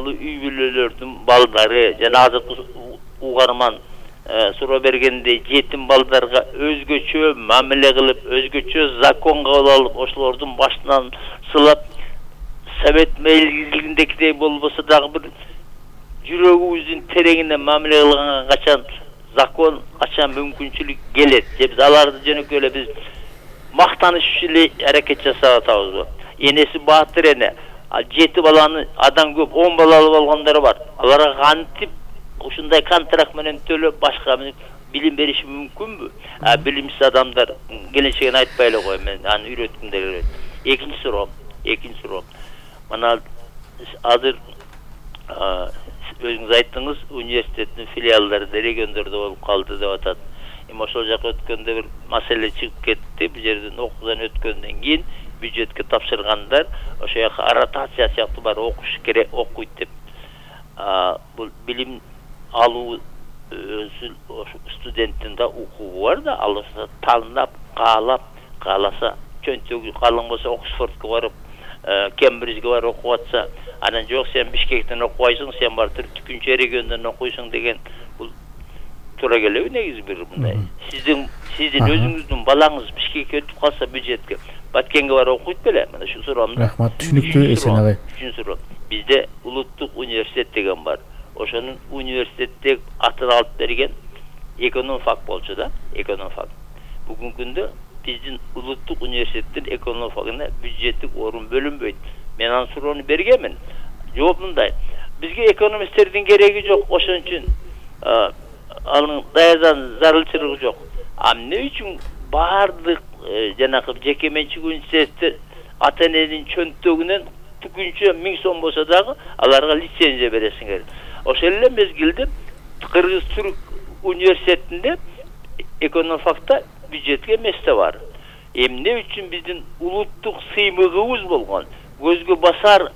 балдарлуу үй бүлөлөрдүн балдары жана азыркы угарман суроо бергендей жетим балдарга өзгөчө мамиле кылып, өзгөчө закон кабыл алып, ошолордун башынан сылап, совет мезгилиндегидей болбосо дагы бир жүрөгүбүздүн тереңине мамиле кылганга качан закон, качан мүмкүнчүлүк келет. Же биз аларды жөнөкөй эле биз мактаныш эле аракет жасап атабызбы? Энеси баатыр эне, 7 баланы адам көп, 10 балалы болгондор бар. Аларга кантип ушундай контракт менен төлөп башка билим бериши мүмкүнбү? Билимсиз адамдар келечегин айтпай эле кой, мен аны үйрөткүм келет. Экинчи суроо. Мына азыр өзүңүз айттыңыз, университеттин филиалдары региондордо болуп калды деп атат. Эми ошол жака өткөндө бир маселе чыгып кетти. Бул жерден окуудан өткөндөн кийин бюджетке тапшыргандар ошо жака ротация сыяктуу бар окуш керек, окуйт деп. Бул билим алуу студенттин да укугу бар да, алса тандап, кааласа чөнтөгү калың болсо Оксфордко барып, Кембриджге барып окуп атса, анан жок сен Бишкектен окубайсың, сен барып түкүнчө региондон окуйсуң деген бул туура келеби негизи бир мындай. Сиздин өзүңүздүн балаңыз Бишкекке өтүп калса бюджетке, Баткенге барып окуйт беле? Мына шу суроомду. Рахмат, түшүнүктүү Эсен агай. Үчүнчү суроо. Бизде улуттук университет деген бар. Ошонун университетте атын алып берген экономфак болчу да, экономфак. Бүгүнкү күндө биздин улуттук университеттин экономфагына бюджеттик орун бөлүнбөйт. Мен анын суроону бергенмин. Жооп мындай. Бизге экономисттердин кереги жок, ошон үчүн анын даярдан зарылчылыгы жок. Эмне үчүн бардык жанагы жеке менчик университеттер ата-эненин чөнтөгүнөн түкүнчө 1000 сом болсо дагы аларга лицензия бересиңер. Ошол эле мезгилде Кыргыз-Түрк университетинде экономфакта бюджетке месте бар. Эмне үчүн биздин улуттук сыймыгыбыз болгон, көзгө басар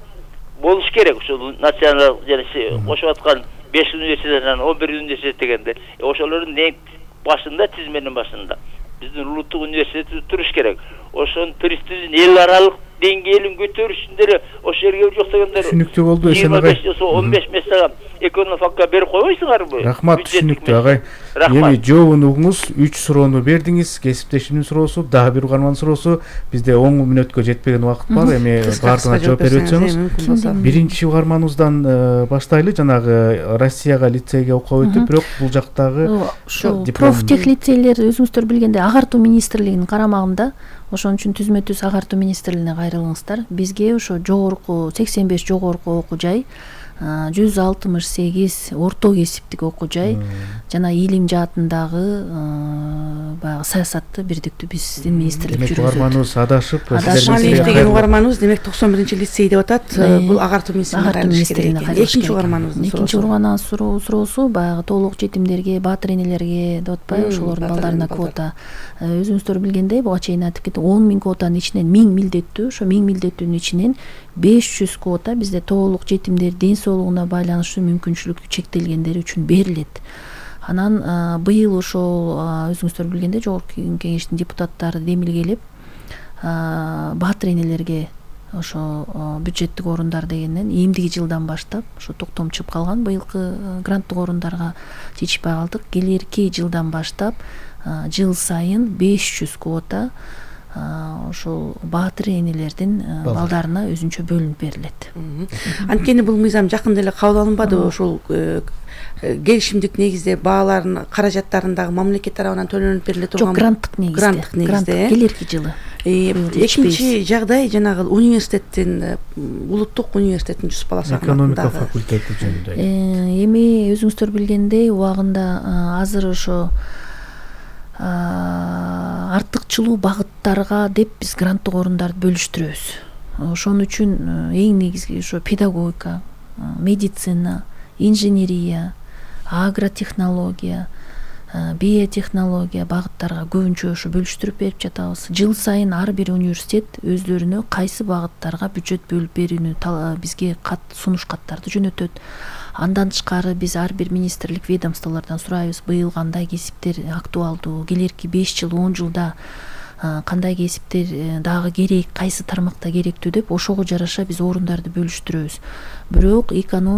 болуш керек. Ошол национал жана кошуп аткан 5 университеттен 11 университет дегенде, ошолордун башында, тизменин башында биздин улуттук университет туруш керек. Ошонун престижин эл аралык деңгээлин көтөрүш үчүн деле ошол жерге жок дегендер. Түшүнүктүү болду Эсен агай. 15 месяга экономфакка берип койбойсуңарбы? Рахмат, түшүнүктүү агай. Эми жообун угуңуз, 3 суроону бердиңиз. Кесиптешимдин суроосу, дагы бир угармандын суроосу. Бизде 10 мүнөткө жетпеген убакыт бар. Эми бардыгына жооп берип өтсөңүз. Биринчи угарманыбыздан баштайлы. Жанагы Россияга лицейге окуп өтүп, бирок бул жактагы профтех лицейлер өзүңүздөр билгендей агартуу министрлигинин карамагында. Ошон үчүн түзмө-түз агартуу министрлигине кайрылыңыздар. Бизге ошо жогорку 85 жогорку окуу жай, 168 орто кесиптик окуу жай жана илим жаатындагы баягы саясатты бирдиктүү биздин министрлик жүргүзөт. Угарманыбыз адашып, деген угарманыбыз демек 91-лицей деп атат. Бул агартуу министрлигине кайрылыш. Экинчи угарманыбыздын суроосу. Экинчи угарманыбыздын суроосу баягы толук жетимдерге, баатыр энелерге деп атпайбы, ошолордун балдарына квота. Өзүңүздөр билгендей, буга чейин айтып кеттим, 10 000 квотанын ичинен 1000 милдеттүү, ошо 1000 милдеттүүнүн ичинен 500 квота бизде толук жетимдер ден соолугуна байланыштуу мүмкүнчүлүгү чектелгендер үчүн берилет. Анан быйыл ошол өзүңүздөр билгендей жогорку кеңештин депутаттары демилгелеп баатыр энелерге ошо бюджеттик орундар дегенден эмдиги жылдан баштап ошо токтом чыгып калган быйылкы гранттык орундарга жетишпей калдык. Келерки жылдан баштап жыл сайын 500 квота ошол баатыр энелердин балдарына өзүнчө бөлүнүп берилет. Анткени бул мыйзам жакында эле кабыл алынбады. Ошол келишимдик негизде баалардын каражаттарындагы мамлекет тарабынан төлөнүп бериле турган. Жок, гранттык негизде. Келерки жылы. Экинчи жагдай жанагы университеттин, улуттук университеттин 100 бала санындагы экономика факультети жөнүндө. Эми өзүңүздөр билгендей убагында азыр ошо артыкчылуу багыттарга деп биз гранттык орундарды бөлүштүрөбүз. Ошон үчүн эң негизги ошо педагогика, медицина, инженерия, агротехнология, биотехнология багыттарга көбүнчө ошо бөлүштүрүп берип жатабыз. Жыл сайын ар бир университет өздөрүнө кайсы багыттарга бюджет бөлүп берүүнү бизге сунуш каттарды жөнөтөт. Андан тышкары биз ар бир министрлик ведомстволордон сурайбыз, быйыл кандай кесиптер актуалдуу, келерки 5 жыл, 10 жылда кандай кесиптер дагы керек, кайсы тармакта керектүү деп ошого жараша биз орундарды бөлүштүрөбүз. Бирок